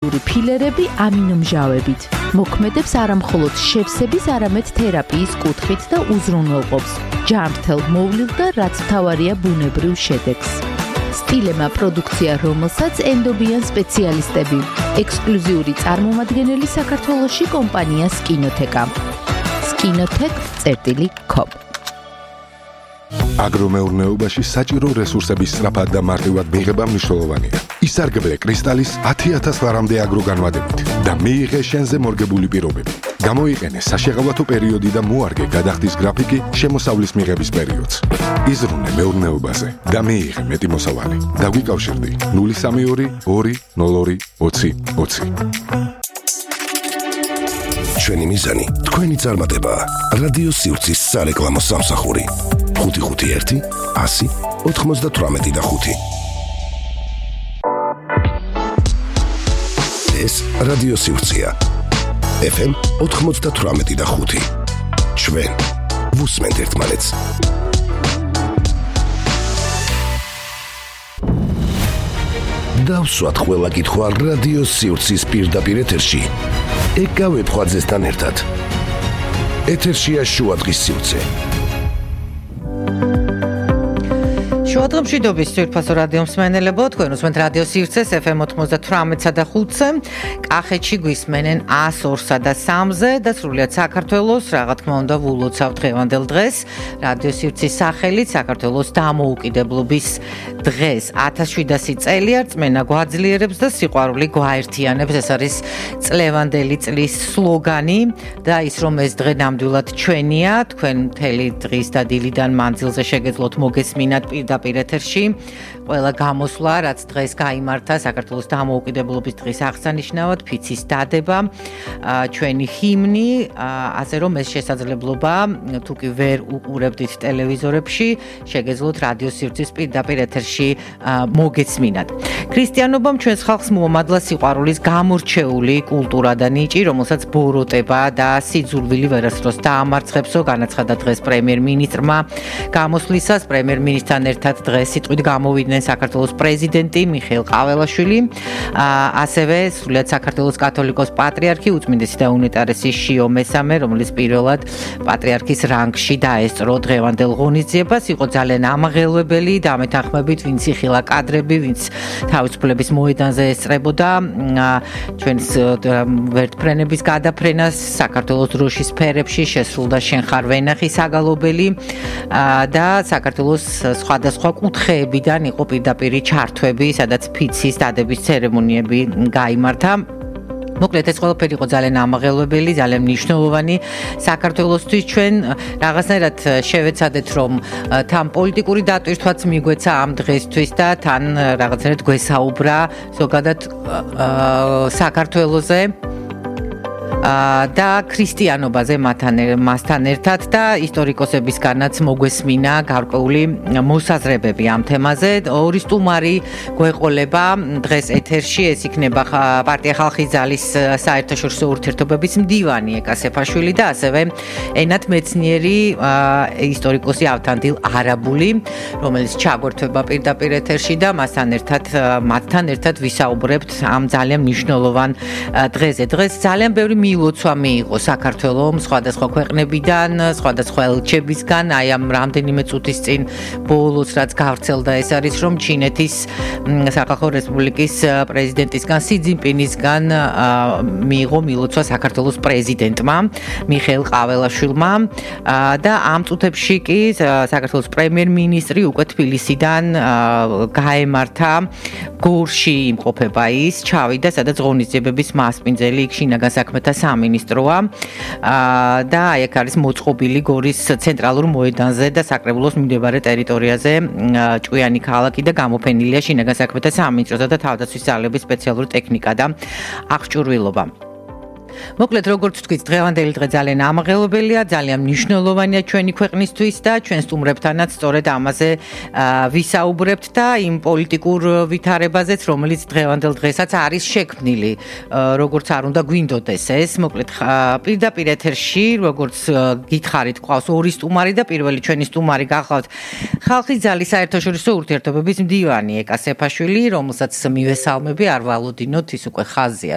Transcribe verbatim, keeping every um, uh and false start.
ფილერები ამინომჟავებით. მოქმედებს არამხოლოდ შევსების, არამედ თერაპიის კუთხით და უზრუნველყოფს ჯანმრთელ მოვლილ და რაც მთავარია ბუნებრივ შედეგს. სტილემა პროდუქცია, რომელსაც ენდობიან სპეციალისტები. ექსკლუზიური წარმომადგენელი საქართველოში კომპანია სკინოთეკა. სკინოთეკ წერტილი კომ. აგრომეურნეობაში საჭირო რესურსების სწრაფად და მარტივად მიღება მნიშვნელოვანია. ისარგებლე კრისტალის ათი ათას ლარამდე აგროგანვადებით და მიიღე შენზე მორგებული პირობები. გამოიყენე საშეღავათო პერიოდი და მოარგე გადახდის გრაფიკი შემოსავლის მიღების პერიოდს. იზრუნე მეურნეობაზე და მიიღე მეტი მოსავალი. დაგვიკავშირდი ნული სამი ორი ორი ნულ ორი ოცი ოცი. ჩვენი მიზანი თქვენი წარმატება. რადიო სივრცის სარეკლამო სამსახური. ხუთი ხუთი ერთი ასი ოთხმოცდათვრამეტი და ხუთი. ეს რადიო სივრცეა. ეფ ემ ოთხმოცდათვრამეტი და ხუთი. ჩვენ ვუსმენთ ერთმანეთს. დავსვათ ყველა კითხვა რადიო სივრცის პირდაპირ ეთერში. ეკავებ ხვაძესთან ერთად. ეთერშია შუადღის სივრცე. შუადღემში დობის ძვირფასო რადიო მსმენელებო, თქვენ უსმენთ რადიო სივრცეს ეფ ემ ოთხმოცდათვრამეტსა და ხუთზე, კახეთში გვისმენენ ას ორსა და სამზე და სრულიად საქართველოს, რა თქმა უნდა, ვულოცავთ დღევანდელ დღეს. რადიო სივრცის სახელით საქართველოს დამოუკიდებლობის დღეს ათას შვიდასი წელია რწმენა გვაძლიერებს და სიყვარული გვაერთიანებს. ეს არის წლევანდელი წლის სლოგანი და ის რომ ეს დღე ნამდვილად ჩვენია, თქვენ მთელი დღის და დილიდან მანძილზე შეგეძლოთ მოგესმინათ პირდაპირ ეთერში ყველა გამოსვლა, რაც დღეს გაიმართა საქართველოს დამოუკიდებლობის დღის აღსანიშნავად, ფიცის დადება, ჩვენი ჰიმნი, ასე რომ ეს შესაძლებლობა თუ კი ვერ უყურებდით ტელევიზორებში, შეგეძლოთ რადიო სივრცის პირდაპირ ეთერში მოგესმინათ. ქრისტიანობამ ჩვენს ხალხს მოამადლა სიყვარულის გამორჩეული კულტურა და ნიჭი, რომელსაც ბოროტება და სიძულვილი ვერასდროს დაამარცხებსო, განაცხადა დღეს პრემიერ-მინისტრმა. გამოსვლისას პრემიერ-მინისტრთან ერთად დღეს სიტყვით გამოვიდნენ საქართველოს პრეზიდენტი მიხეილ ყაველაშვილი, ასევე სრულიად საქართველოს კათოლიკოს პატრიარქი უწმინდესი და უნეტარესი შიო მესამე, რომელიც პირველად პატრიარქის რანგში დაესწრო დღევანდელ ღონისძიებას, იყო ძალიან ამაღელვებელი და ამეთანხმებით, ვინც იხილა კადრები, ვინც თავისუფლების მოედანზე ესწრებოდა ჩვენს ვერტფრენების გადაფრენას, საქართველოს დროშის სფერებში შესრულდა შენ ხარ ვენახი საგალობელი და საქართველოს სხვადასხვა კუთხეებიდან იყო პირდაპირი ჩართვები, სადაც ფიცის დადების ცერემონიები გაიმართა. მოკლედ ეს ყველაფერი იყო ძალიან ამაღელვებელი, ძალიან მნიშვნელოვანი საქართველოსთვის. ჩვენ რაღაცნაირად შევეცადეთ, რომ თან პოლიტიკური დატვირთვაც მიგვეცა ამ დღესთვის და თან რაღაცნაირად გვესაუბრა ზოგადად საქართველოზე და ქრისტიანობაზე მასთან ერთად და ისტორიკოსებისგანაც მოგვესმინა გარკვეული მოსაზრებები ამ თემაზე. ორი სტუმარი გვეყოლება დღეს ეთერში, ეს იქნება პარტია ხალხის ძალის საერთაშორისო ურთიერთობების მდივანი ეკა სეფაშვილი და ასევე ენათ მეცნიერი ისტორიკოსი ავთანდილ არაბული, რომელიც ჩაგვერთვება პირდაპირ ეთერში და მასთან ერთად მათთან ერთად ვისაუბრებთ ამ ძალიან მნიშვნელოვან დღეზე. დღეს ძალიან ბევრი მილოცვა მიიღო საქართველომ სხვადასხვა ქვეყნებიდან, სხვადასხვა ელჩებისგან, აი ამ რამდენიმე წუთის წინ ბოლოს რაც გავრცელდა, ეს არის რომ ჩინეთის სახალხო რესპუბლიკის პრეზიდენტისგან სი ძინპინისგან მიიღო მილოცვა საქართველოს პრეზიდენტმა მიხეილ ყაველაშვილმა და ამ წუთებში კი საქართველოს პრემიერ-მინისტრი უკვე თბილისიდან გაემართა გორში იმყოფება ის, ჩავიდა, სადაც ღონისძიებების მასპინძელი იქ შინაგან საქმეთა სამინისტროა და აი აქ არის მოწყობილი გორის ცენტრალურ მოედანზე და საკრებულოს მიმდებარე ტერიტორიაზე ჭკვიანი ქალაქი და გამოფენილია შინაგან საქმეთა სამინისტროსა და თავდაცვის ძალების სპეციალური ტექნიკა და აღჭურვილობა. მოკლედ როგორც თქვით, დღევანდელი დღე ძალიან ამაღელობელია, ძალიან მნიშვნელოვანია ჩვენი ქვეყნისთვის და ჩვენ სტუმრებთანაც სწორედ ამაზე ვისაუბრებთ და იმ პოლიტიკურ ვითარებაზეც, რომელიც დღევანდელ დღესაც არის შექმნილი, როგორც არ უნდა გვინდოდეს ეს. მოკლედ პირდაპირ ეთერში, როგორც გითხარით, ყავს ორი სტუმარი და პირველი ჩვენი სტუმარი გახლავთ ხალხის ძალის საერთაშორისო ურთიერთობების მდივანი ეკა სეფაშვილი, რომელსაც მივესალმები, არ ვალოდინოთ, ის უკვე ხაზია,